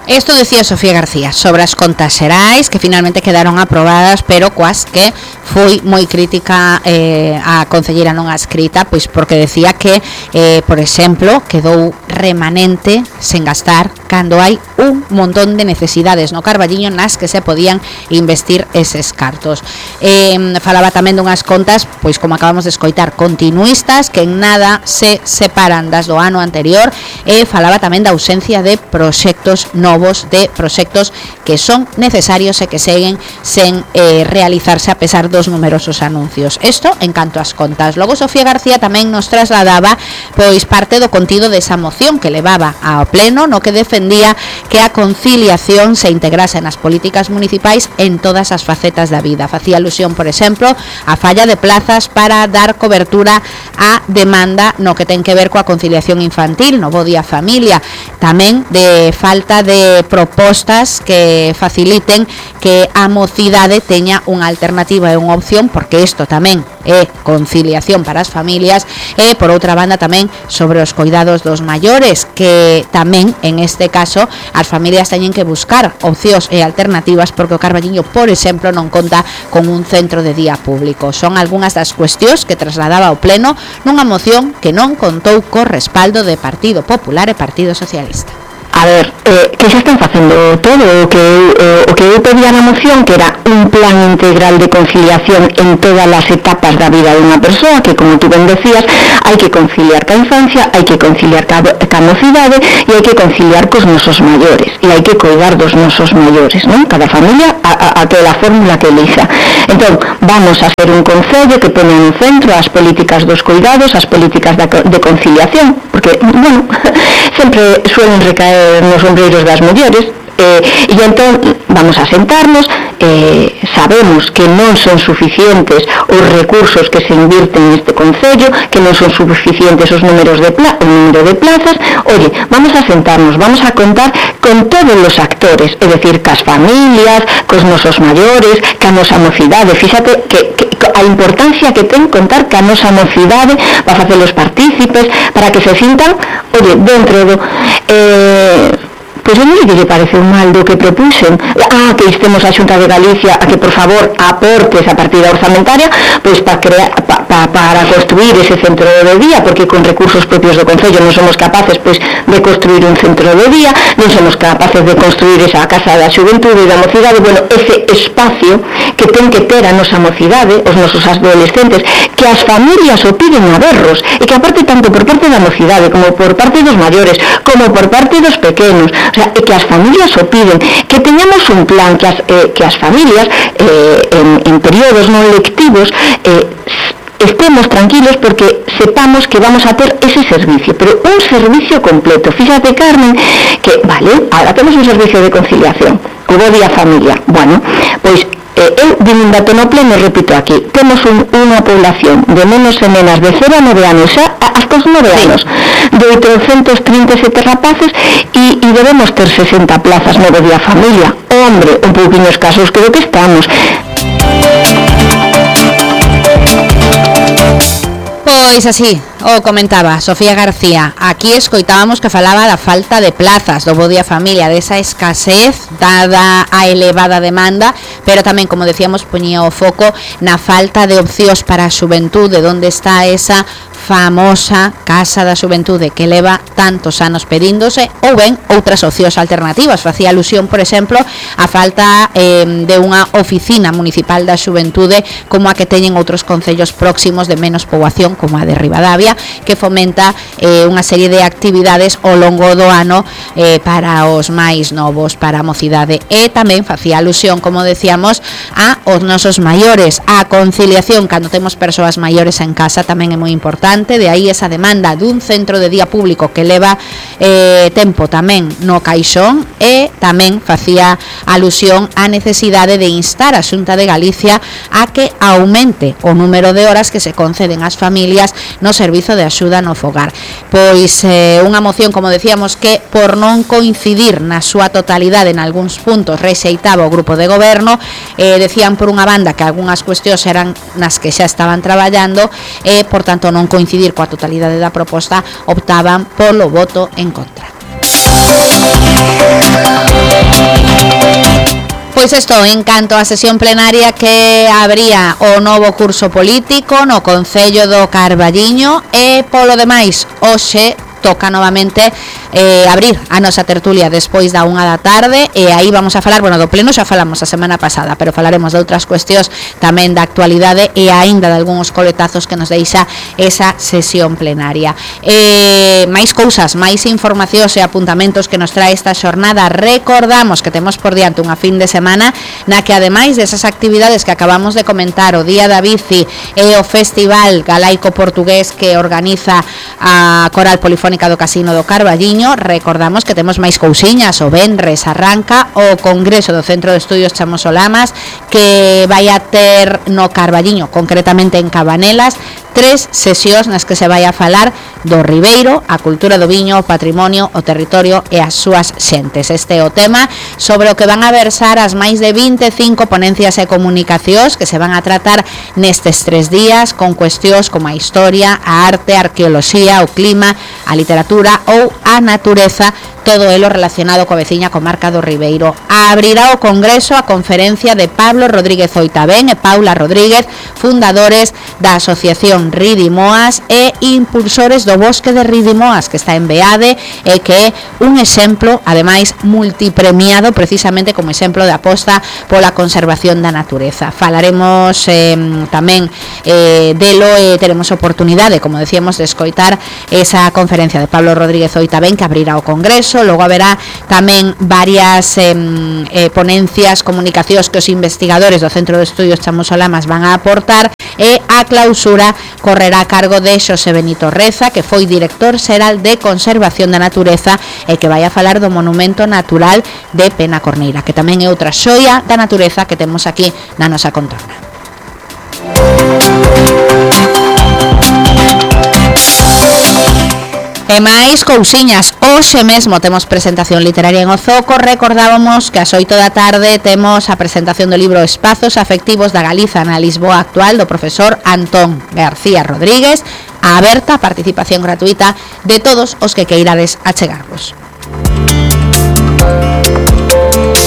Esto decía Sofía García sobre as contas xerais que finalmente quedaron aprobadas, pero coas que foi moi crítica a concelleira non adscrita, pois porque decía que, por exemplo, quedou remanente sen gastar cando hai un montón de necesidades no Carballiño nas que se podían investir eses cartos. Falaba tamén dunhas contas, pois como acabamos de escoitar, continuistas, que en nada se separan das do ano anterior, e falaba tamén da ausencia de proxectos novos, de proxectos que son necesarios e que seguen sen realizarse a pesar dos numerosos anuncios. Isto en canto ás contas. Logo Sofía García tamén nos trasladaba pois parte do contido desa moción que levaba ao pleno, no que defendía que a conciliación se integrase nas políticas municipais en todas as facetas da vida. Facía alusión, por exemplo, a falla de plazas para dar cobertura á demanda no que ten que ver coa conciliación infantil, no bo día familia, tamén de falta de propostas que faciliten que a mocidade teña unha alternativa e unha opción, porque isto tamén é conciliación para as familias, e por outra banda tamén sobre os cuidados dos maiores, que tamén en este caso as familias teñen que buscar opcións e alternativas, porque o Carballiño, por exemplo, non conta con un centro de día público. Son algunhas das cuestións que trasladaba ao pleno nunha moción que non contou co respaldo de Partido Popular e Partido Socialista. A ver, que xa están facendo todo o que eu pedía na moción, que era un plan integral de conciliación en todas as etapas da vida dunha persoa, que como tú ben decías, hai que conciliar ca infancia, hai que conciliar ca mocidade e hai que conciliar cos nosos maiores, e hai que cuidar dos nosos maiores, non? Cada familia aquela fórmula que elixa. Entón, vamos a ser un concello que pone no centro as políticas dos cuidados, as políticas de conciliación, porque, bueno, sempre suelen recaer nos ombreiros das mulleres, e entón vamos a sentarnos, sabemos que non son suficientes os recursos que se invirten neste concello, que non son suficientes os números o número de plazas. Oye, vamos a sentarnos, vamos a contar con todos os actores, é dicir, cas familias, cos nosos maiores, ca nosa mocidade. Fíxate que a importancia que ten contar ca nosa mocidade para facelos partícipes, para que se sintan, oye, dentro do... Pois a mí que lle pareceu mal do que propuxen, que instemos a Xunta de Galicia a que por favor aporte esa partida orzamentaria pois para construir ese centro de día, porque con recursos propios do Concello non somos capaces pois de construir un centro de día, non somos capaces de construir esa casa da xuventude e da mocidade, bueno, ese espacio que ten que ter a nosa mocidade, os nosos adolescentes, que as familias o piden a berros, e que aparte tanto por parte da mocidade como por parte dos maiores, como por parte dos pequenos, o sea, que as familias o piden, que teñamos un plan que as familias en períodos non lectivos estemos tranquilos, porque sepamos que vamos a ter ese servicio, pero un servicio completo. Fíjate, Carmen, que, vale, ahora temos un servicio de conciliación, o bo día familia. Bueno, pois eu din un dato no pleno, repito aquí, temos unha población de menos e menas de 0 a 9 anos, xa hasta os 9 anos, de 837 rapaces, e debemos ter 60 plazas no día familia. Hombre, un pouquinho escasos creo que estamos. Pois así o comentaba Sofía García. Aquí escoitábamos que falaba da falta de plazas do bo día familia, desa escasez dada a elevada demanda, pero tamén, como decíamos, poñía o foco na falta de opcións para a xuventude, onde está esa famosa Casa da Xuventude que leva tantos anos pedíndose, ou ben outras opcións alternativas. Facía alusión, por exemplo, a falta de unha oficina municipal da xuventude como a que teñen outros concellos próximos de menos poboación, como a de Ribadavia, que fomenta unha serie de actividades ao longo do ano para os máis novos, para a mocidade. E tamén facía alusión, como decíamos, a os nosos maiores. A conciliación cando temos persoas maiores en casa tamén é moi importante. De aí esa demanda dun centro de día público que leva tempo tamén no caixón, e tamén facía alusión á necesidade de instar a Xunta de Galicia a que aumente o número de horas que se conceden ás familias no servizo de axuda no fogar. Pois unha moción, como decíamos, que por non coincidir na súa totalidade en algúns puntos rexeitaba o grupo de goberno. Decían por unha banda que algunhas cuestións eran nas que xa estaban traballando e por tanto non coincidir coa totalidade da proposta, optaban polo voto en contra. Pois isto, en canto á sesión plenaria que abría o novo curso político no Concello do Carballiño, e polo demais hoxe toca novamente abrir a nosa tertulia despois da 1 da tarde, e aí vamos a falar, bueno, do pleno xa falamos a semana pasada, pero falaremos de outras cuestións tamén da actualidade e aínda de algúns coletazos que nos deixa esa sesión plenaria. Máis cousas, máis informacións e apuntamentos que nos trae esta xornada. Recordamos que temos por diante unha fin de semana na que, ademais desas actividades que acabamos de comentar, o Día da Bici e o Festival Galaico Portugués que organiza a Coral Polifónica do Casino do Carballiño, recordamos que temos máis cousiñas. O venres arranca o Congreso do Centro de Estudios Chamosolamas, que vai a ter no Carballiño, concretamente en Cabanelas, 3 sesións nas que se vai a falar do Ribeiro, a cultura do viño, o patrimonio, o territorio e as súas xentes. Este é o tema sobre o que van a versar as máis de 25 ponencias e comunicacións que se van a tratar nestes 3 días, con cuestións como a historia, a arte, a arqueoloxía, o clima, a literatura ou a natureza, todo elo relacionado coa veciña comarca do Ribeiro. Abrirá o Congreso a conferencia de Pablo Rodríguez Oitabén e Paula Rodríguez, fundadores da Asociación Ridimoas e impulsores do Bosque de Ridimoas, que está en Beade e que é un exemplo, ademais, multipremiado precisamente como exemplo de aposta pola conservación da natureza. Falaremos tamén delo e teremos oportunidade, como decíamos, de escoitar esa conferencia de Pablo Rodríguez Oitabén que abrirá o Congreso. Logo haberá tamén varias ponencias, comunicacións que os investigadores do Centro de Estudios Chamosolamas van a aportar, e a clausura correrá a cargo de Xosé Benito Reza, que foi director xeral de Conservación da Natureza e que vai a falar do Monumento Natural de Penacorneira, que tamén é outra xoia da natureza que temos aquí na nosa contorna. E máis cousiñas, hoxe mesmo temos presentación literaria en Ozoco. Recordábamos que ás 8 da tarde temos a presentación do libro Espazos Afectivos da Galiza na Lisboa Actual, do profesor Antón García Rodríguez, a aberta a participación gratuita de todos os que queirades achegarvos.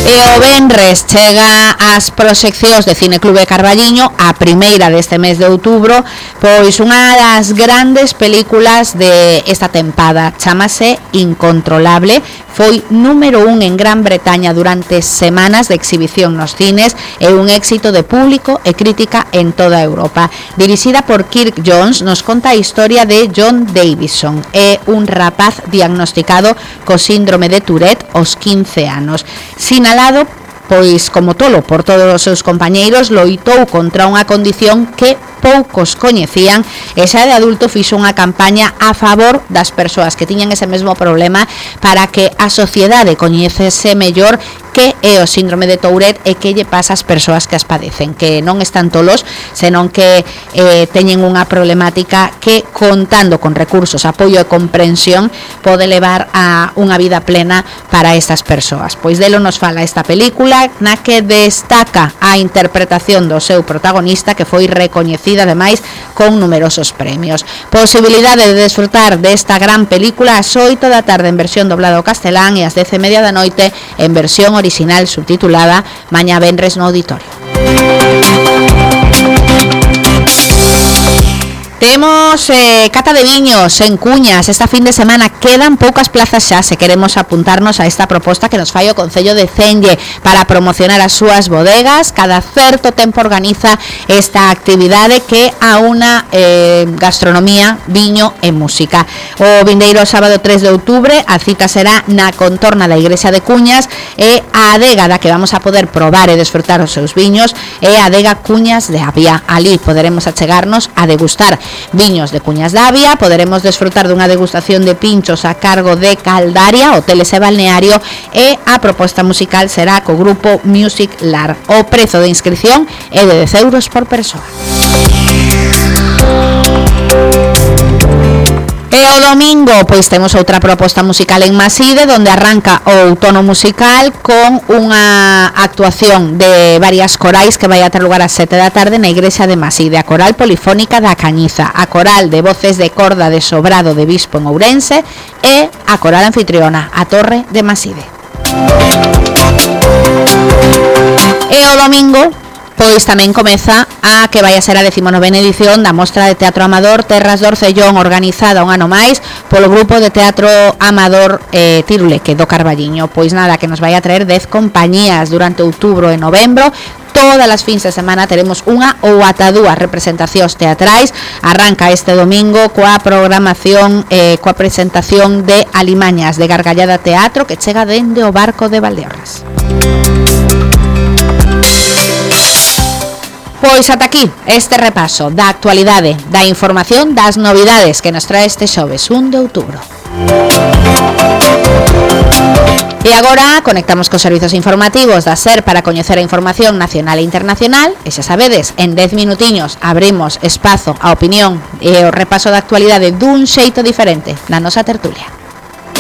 E o venres chega ás proxeccións de Cineclube Carballiño, a primeira deste mes de outubro, pois unha das grandes películas de esta tempada, chámase Incontrolable. Foi número 1 en Gran Bretaña durante semanas de exhibición nos cines e un éxito de público e crítica en toda Europa. Dirixida por Kirk Jones, nos conta a historia de John Davison, é un rapaz diagnosticado co síndrome de Tourette aos 15 anos. Sinalado, pois como tolo por todos os seus compañeiros, loitou contra unha condición que poucos coñecían e xa de adulto fixo unha campaña a favor das persoas que tiñan ese mesmo problema para que a sociedade coñecese mellor que é o síndrome de Tourette e que lle pasa ás persoas que as padecen, que non están tolos, senón que teñen unha problemática que, contando con recursos, apoio e comprensión, pode levar a unha vida plena para estas persoas. Pois delo nos fala esta película, na que destaca a interpretación do seu protagonista, que foi recoñecida ademais con numerosos premios. Posibilidade de desfrutar desta gran película ás 8 da tarde en versión doblada ao castelán e ás 10:30 da noite en versión original subtitulada mañá venres no auditorio. Temos cata de viños en Cuñas esta fin de semana. Quedan poucas plazas xa se queremos apuntarnos a esta proposta que nos fai o Concello de Cenlle para promocionar as súas bodegas. Cada certo tempo organiza esta actividade que aúna gastronomía, viño e música. O vindeiro sábado 3 de outubro a cita será na contorna da Igrexa de Cuñas, e a adega da que vamos a poder probar e desfrutar os seus viños é a adega Cuñas de Avia. Ali poderemos achegarnos a degustar viños de Cuñas de Avia, poderemos desfrutar dunha degustación de pinchos a cargo de Caldaria, hoteles e balneario, e a proposta musical será co grupo Music Lar. O prezo de inscripción é de 10 euros por persoa. E o domingo, pois temos outra proposta musical en Maside, donde arranca o outono musical con unha actuación de varias corais que vai a ter lugar ás 7 da tarde na Igrexa de Maside, a Coral Polifónica da Cañiza, a Coral de Voces de Corda de Sobrado de Bispo en Ourense e a Coral Anfitriona, a Torre de Maside. E o domingo pois tamén comeza a que vai a ser a 19ª edición da Mostra de Teatro Amador Terras do Orcellón, organizada un ano máis polo grupo de teatro amador Tiruleque do Carballiño. Pois nada, que nos vai a traer 10 compañías durante outubro e novembro. Todas as fins de semana teremos unha ou ata dúas representacións teatrais. Arranca este domingo coa programación, coa presentación de Alimañas de Gargallada Teatro, que chega dende o Barco de Valdeorras. Pois ata aquí este repaso da actualidade, da información, das novidades que nos trae este xoves 1 de outubro. E agora conectamos cos servizos informativos da SER para coñecer a información nacional e internacional. E xa sabedes, en 10 minutiños abrimos espazo á opinión e o repaso da actualidade dun xeito diferente na nosa tertulia.